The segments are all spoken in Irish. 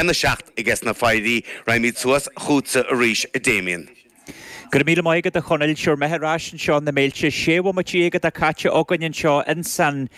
1, 7 aige na Foidhrí. Raghaimid suas chugatsa arís, a Damien. Go raibh míle maith agat a Chonaill. Sure, mé ar ais anseo na Méilte. 16 bhomaite atá caite againn anseo ins an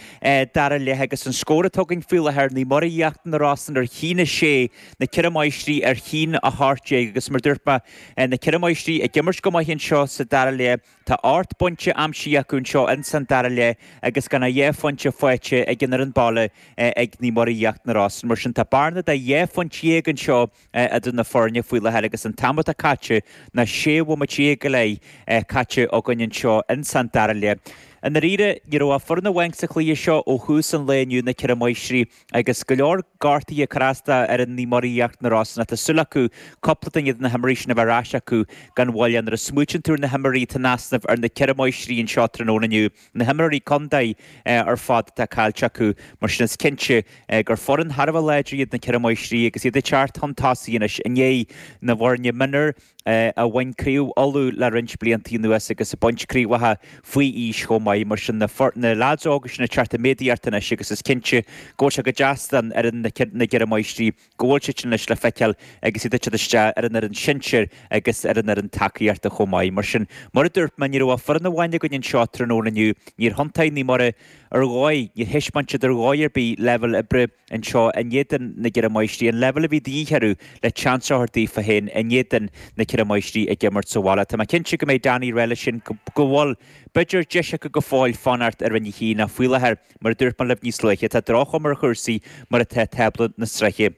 dara leath agus an scór atá againn faoi láthair, Naomh Muire Íochtar na Rosann ar 1-6, na Ceithre Máistrí ar 1-18 agus mar dúirt mé, na Ceithre Máistrí ag imirt go maith anseo sa dara leath. Tá 8 bpointe aimsithe acu anseo ins an dara leath agus gan ach 2 phointe faighte ag an fhoireann baile ag Naomh Muire Íochtar na Rosann. Mar sin tá bearna de 12 phointe anseo idir na foirne faoi láthair agus an t-am atá caite ná 16 bhomaite go leith caite againn anseo ins an dara leath. I ndáiríre, ní raibh ach foireann amháin sa chluiche seo ó thús an lae inniu, na Ceithre Máistrí, agus go leor gortuithe ag cur as d'fhoireann Naomh Muire Íochtar na Rosann ach tá súil acu cúpla duine de na himreoirí sin a bheith ar ais acu gan mhoill. Nuair a smaoitíonn tú ar na himreoirí atá in easnamh ar na Ceithre Máistrí anseo tráthnóna inniu, na himreoirí contae ar fad atá caillte acu, mar sin is cinnte gur foireann thar a bheith láidir iad na Ceithre Máistrí agus iad ag teacht chun tosaigh anois i ndiaidh na bhfoirne mionúir a bhain Craobh Uladh le roinnt blianta anuas agus ag baint craobhacha faoi aois chomh maith. Mar sin na leaids óga sin ag teacht i méadaíocht anois agus is cinnte go bhfuil sé go deas don fhoireann na gCeithre Máistrí go bhfuil siad sin anois le feiceáil agus iad ag teacht isteach ar an fhoireann sinsir agus ar an fhoireann tacaíochta chomh maith. Mar sin, mar a dúirt mé, ní raibh ach foireann amháin againn anseo tráthnóna inniu. Níor thiontaigh Naomh Muire ar dhóigh, níor thaispeáin siad ar dhóigh ar bith leibhéal oibre anseo in éadan na gCeithre Máistrí, an leibhéal a bhí de dhíth orthu le seans a thabhairt daofa féin in éadan na Ceithre Máistrí ag imirt sa bhaile. Tá mé cinnte go mbeidh Danny ag rá leis sin go bhfuil, b'fhéidir, deis acu go fóill fanacht i Roinn 1 ach faoi láthair, Mar a dúirt mé libh níos luaithe, tá droch-chuma ar chúrsaí mar atá tábla na sraithe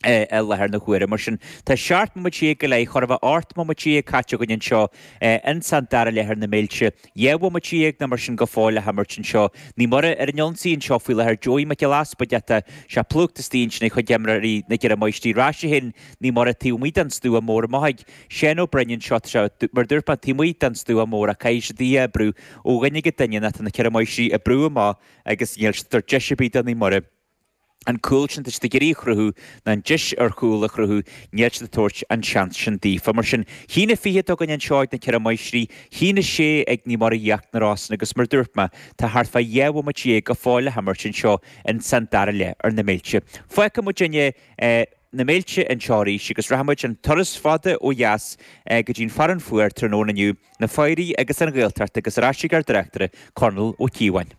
i láthair na huaire. Mar sin, tá 17 mbomaite go leith, chóir a bheith 18 mbomaite caite againn anseo ins an dara leath ar na Méilte. 12 bhomaite nó mar sin go fóill le himirt anseo. Naomh Muire ar an ionsaí anseo faoi láthair. Joey Mac Giolla Easpaig ata sé plúchta istigh ansin ag chuid imreoirí na gCeithre Máistrí. Ar ais a théann Naomh Muire taobh amuigh den stua mór amach ag Seán Ó Broin anseo, tá sé, mar a dúirt mé, taobh amuigh den stua mór ach caithfidh siad í a oibriú ó dhuine go duine nó tá na Ceithre Máistrí ag brú amach agus níl siad ag tabhairt deis ar bith do Naomh Muire an cúl sin atá siad ag iarraidh a chruthú ná an deis ar chúl a chruthú, níl siad ag tabhairt an seans sin daofa. Mar sin, 1-20 atá againn anseo ag na Ceithre Máistrí, 1-6 ag Naomh Muire Íochtar na Rosann agus mar a dúirt mé, tá thart fá 12 bhomaite go fóill le himirt anseo ins an dara leath ar na Méilte. Fágfaidh muidinne na Méilte anseo arís agus rachaidh muid an turas fada ó dheas go dtí an Fearann Fuar tráthnóna inniu, na Foidhrí agus an Ghaeltacht agus ar ais ag ár dtráchtaire, Conall Ó Cíobháin.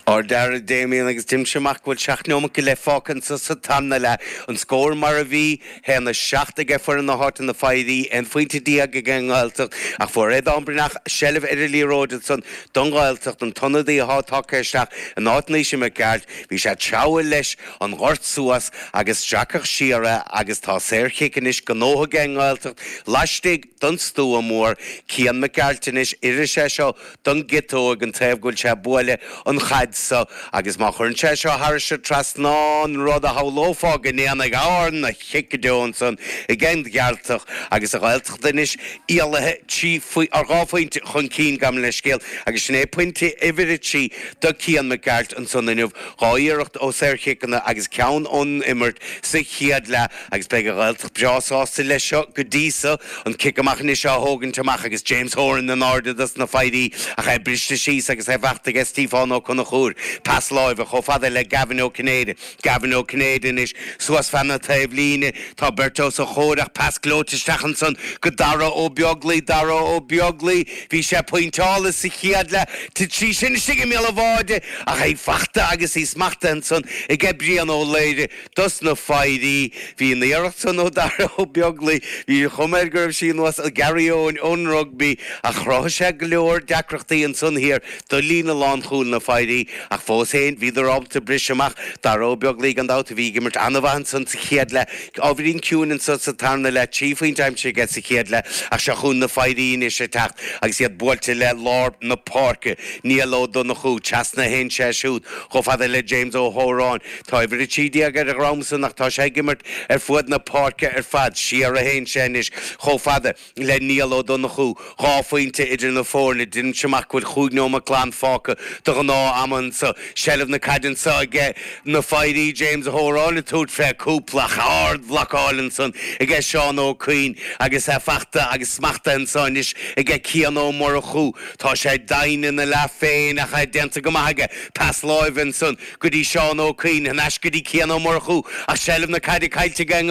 Ard-fhear a Damien agus deinimse amach go bhfuil 7 neomat go leith fágtha anso sa tarna leath. An scór mar a bhí, 1-7 aige foireann na háite na Foidhrí, 11 phointe aige an nGaeltacht ach fuair Aodán Breathnach seilbh ar an liathróid ansan don Ghaeltacht, an t-ionadaí athá tagtha isteach in áit Naoise Mac Gearailt. Bhí sé ag treabhadh leis an ngort suas agus stracadh siar é agus tá saorchic anois gnóthaithe ag an nGaeltacht laistigh den stua mór. Cian Mac Gearailt anois, oirfidh sé seo don gciotóg, an taobh go bhfuil sé ag bualadh an chaid so agus má chuireann sé seo thairis an trasnán, rud a shamhlófá go ndéanfaidh, ana-chic go deo ansan ag an Ghearaltach agus an Ghaeltacht anois éalaithe 3 dhá phointe chun cinn, gabh mo leithscéal, agus sin é pointe uimhir 3 do Cian Mac Gearailt ansan inniu. Dhá iarracht ó saorchiceanna agus ceann ón imirt sa chéad leath agus beidh an Ghaeltacht breá sásta leis seo go dtí so. An cic amach anois á thógaint amach agus James Horan in airde dos na Foidhrí ach é briste síos agus é faighte aige Stiofán Ó Conchúir. Pas láimhe chomh fada le Gavin Ó Cinnéide. Gavin Ó Cinnéide anois suas feadh na taobhlíne. Tá beirt os a chomhair ach pas gleoite isteach ansan go Dara Ó Beaglaoi. Dara Ó Beaglaoi. Bhí sé pointeáilte sa chéad leath. Thit sí sin istigh i mbéal an bháide ach í fachta agus í smachtaithe ansan aige Brian Ó Laoire dos na Foidhrí. Bhí an iarracht san ó Dara Ó Beaglaoi, bhí an chuma air go raibh sí ar nós Gary Eoin ón rugbaí ach chruthaigh sé go leor deacrachtaí ansan thiar do líne lánchúil na Foidhrí ach fós féin bhíodar ábalta briseadh amach. Dara Ó Beaglaoi gan dabht a bhí ag imirt an-mhaith ansan sa chéad leath. Ábhairín ciúin anso sa tarna leath, 3 phointe aimsithe aige sa chéad leath ach seo chugainn na Foidhrí anois ag teacht agus iad buailte le lár na páirce. Niall Ó Donnchú, trasna a théann sé siúd chomh fada le James Ó hÓráin. Tá uimhir 13 ar a dhrom san ach tá sé ag imirt ar fuaid na páirce ar fad. Siar a théann sé anois chomh fada le Niall Ó Donnchú, 2 phointe idir na foirne. Deinimse amach go bhfuil chúig neomat glan fágtha de ghnáth am anso. Seilbh na caide anso aige na Foidhrí, James Ó hÓráin ag tabhairt fé cúpla ach ard-bhlocáil ansan aige Seán Ó Cuinn agus é fachta agus smachtaithe anso anois aige Cian Ó Murchú. Tá sé doimhin ina leath féin ach é déanta go maith aige. Pas láimhe ansan go dtí Seán Ó Cuinn, thar n-ais go dtí Cian Ó Murchú ach seilbh na caide caillte aige.